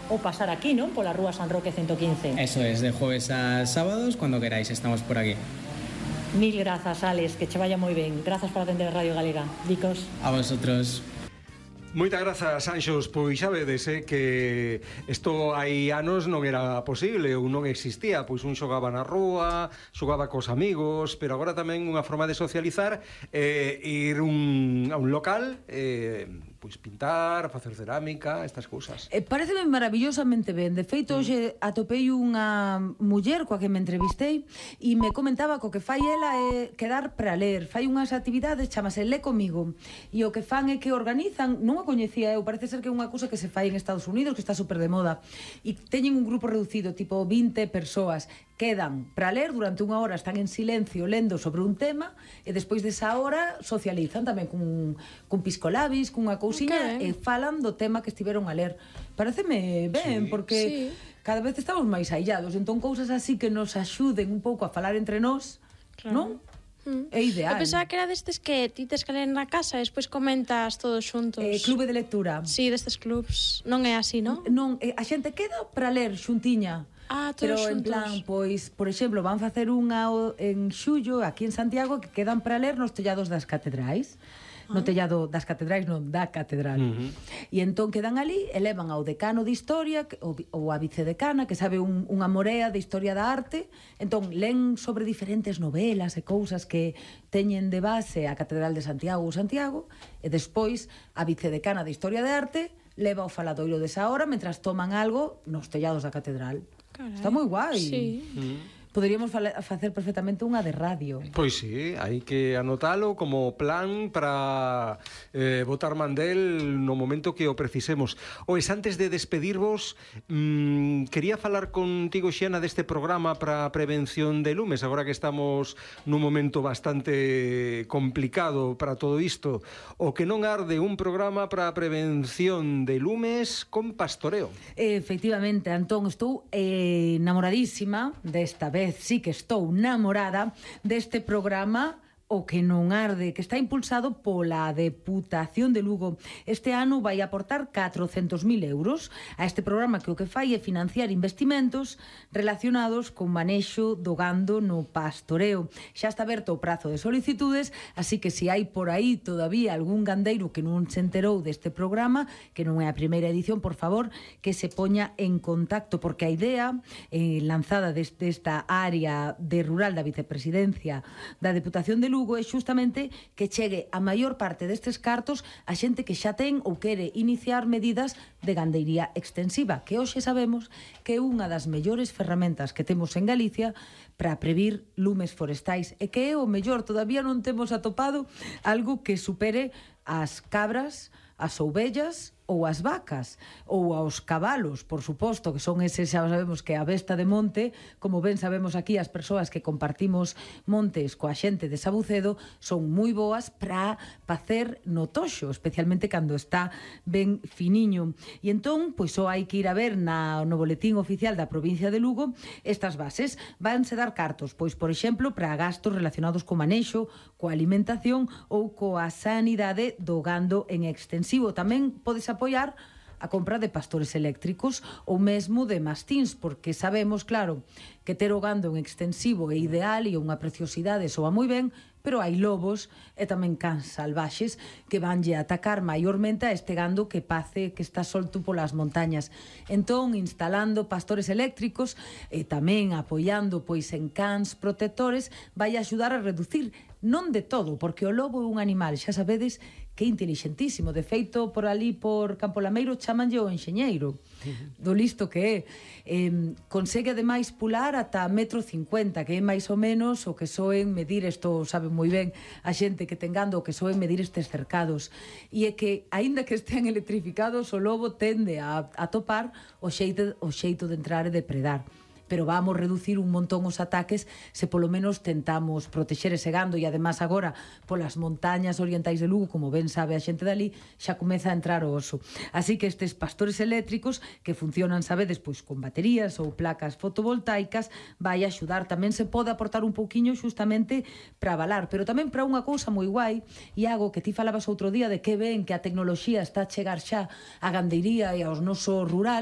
ou pasar aquí, non? Pola Rúa San Roque 115. Eso es, de jueves a sábados, cuando queráis, estamos por aquí. Mil grazas, Alex, que che vaya moi ben. Grazas por atender a Radio Galega. Dicos. A vosotros. Moitas grazas, Anxos. Pois xa vedes que isto hai anos non era posible ou non existía. Pois un xogaba na rúa, xogaba cos amigos, pero agora tamén unha forma de socializar ir a un local, pois pintar, facer cerámica, estas cousas. Pareceme maravillosamente ben. De feito, hoxe atopei unha muller coa que me entrevistei e me comentaba que o que fai ela é quedar para ler. Fai unhas actividades, chamase Lé Comigo, e o que fan é que organizan, non a coñecía eu, parece ser que é unha cousa que se fai en Estados Unidos, que está super de moda, e teñen un grupo reducido, tipo 20 persoas, quedan para ler durante unha hora, están en silencio lendo sobre un tema, e despois desa hora socializan tamén cun piscolabis, cunha cousiña, e falan do tema que estiveron a ler. Pareceme ben, porque cada vez estamos máis aillados, entón cousas así que nos axuden un pouco a falar entre nós, non? É ideal. Eu pensaba que era destes que ti tes que ler na casa e despois comentas todos xuntos. Clube de lectura. Sí, destes clubs. Non é así, non? Non, a xente queda para ler xuntiña. Pero en plan, pois, por exemplo, van facer unha en xullo aquí en Santiago que quedan para ler nos tellados das catedrais. No tellado das catedrais, non, da catedral. E entón quedan ali e levan ao decano de historia ou a vicedecana que sabe unha morea de historia da arte. Entón len sobre diferentes novelas e cousas que teñen de base a Catedral de Santiago ou Santiago, e despois a vicedecana de historia de arte leva o faladoiro desa hora mentras toman algo nos tellados da catedral. Carai. Está moi guai. Sí. Poderíamos facer perfectamente unha de radio. Pois sí, hai que anotalo como plan para botar mandel no momento que o precisemos. Oes, antes de despedirvos, quería falar contigo, Xiana, deste programa para a prevención de lumes, agora que estamos nun momento bastante complicado para todo isto. O que non arde, un programa para a prevención de lumes con pastoreo. Efectivamente, Antón, estou enamoradísima desta vez. Sí que estou namorada deste programa O que non arde, que está impulsado pola Deputación de Lugo. Este ano vai aportar 400.000 euros a este programa que o que fai é financiar investimentos relacionados con manexo do gando no pastoreo. Xa está aberto o prazo de solicitudes, así que se hai por aí todavía algún gandeiro que non se enterou deste programa, que non é a primeira edición, por favor, que se poña en contacto, porque a idea lanzada desta área de rural da vicepresidencia da Deputación de Lugo é xustamente que chegue a maior parte destes cartos a xente que xa ten ou quere iniciar medidas de gandeiría extensiva, que hoxe sabemos que é unha das mellores ferramentas que temos en Galicia para previr lumes forestais, e que é o mellor, todavía non temos atopado algo que supere as cabras, as ovellas ou as vacas, ou aos cabalos, por suposto, que son eses, xa sabemos que a besta de monte, como ben sabemos aquí as persoas que compartimos montes coa xente de Sabucedo, son moi boas para facer no toxo, especialmente cando está ben finiño. E entón, pois só hai que ir a ver no boletín oficial da provincia de Lugo estas bases. Vanse dar cartos, pois, por exemplo, para gastos relacionados co manexo, coa alimentación ou coa sanidade do gando en extensivo. Tamén podes apoiar a compra de pastores eléctricos ou mesmo de mastíns, porque sabemos, claro, que ter o gando en extensivo é ideal e unha preciosidade, soa moi ben, pero hai lobos e tamén cans salvaxes que vanlle a atacar maiormente a este gando que pace que está solto polas montañas. Entón, instalando pastores eléctricos e tamén apoiando pois en cans protectores, vai axudar a reducir, non de todo, porque o lobo é un animal, xa sabedes, que é intelixentísimo. De feito, por ali, por Campo Lameiro, chamanlle o enxeñeiro, do listo que é. Consegue, ademais, pular ata 1,50 m, que é máis ou menos o que soen medir, isto sabe moi ben a xente que ten gando, o que soen medir estes cercados. E é que, aínda que estean electrificados, o lobo tende a topar o xeito de entrar e depredar. Pero vamos reducir un montón os ataques se polo menos tentamos protexer ese gando. E además agora polas montañas orientais de Lugo, como ben sabe a xente dali, xa comeza a entrar o oso. Así que estes pastores eléctricos que funcionan, sabedes, pois con baterías ou placas fotovoltaicas, vai axudar. Tamén se pode aportar un pouquiño xustamente para avalar, pero tamén para unha cousa moi guai, Iago, que ti falabas outro día de que ben que a tecnoloxía está a chegar xa a gandeiría e aos noso rural.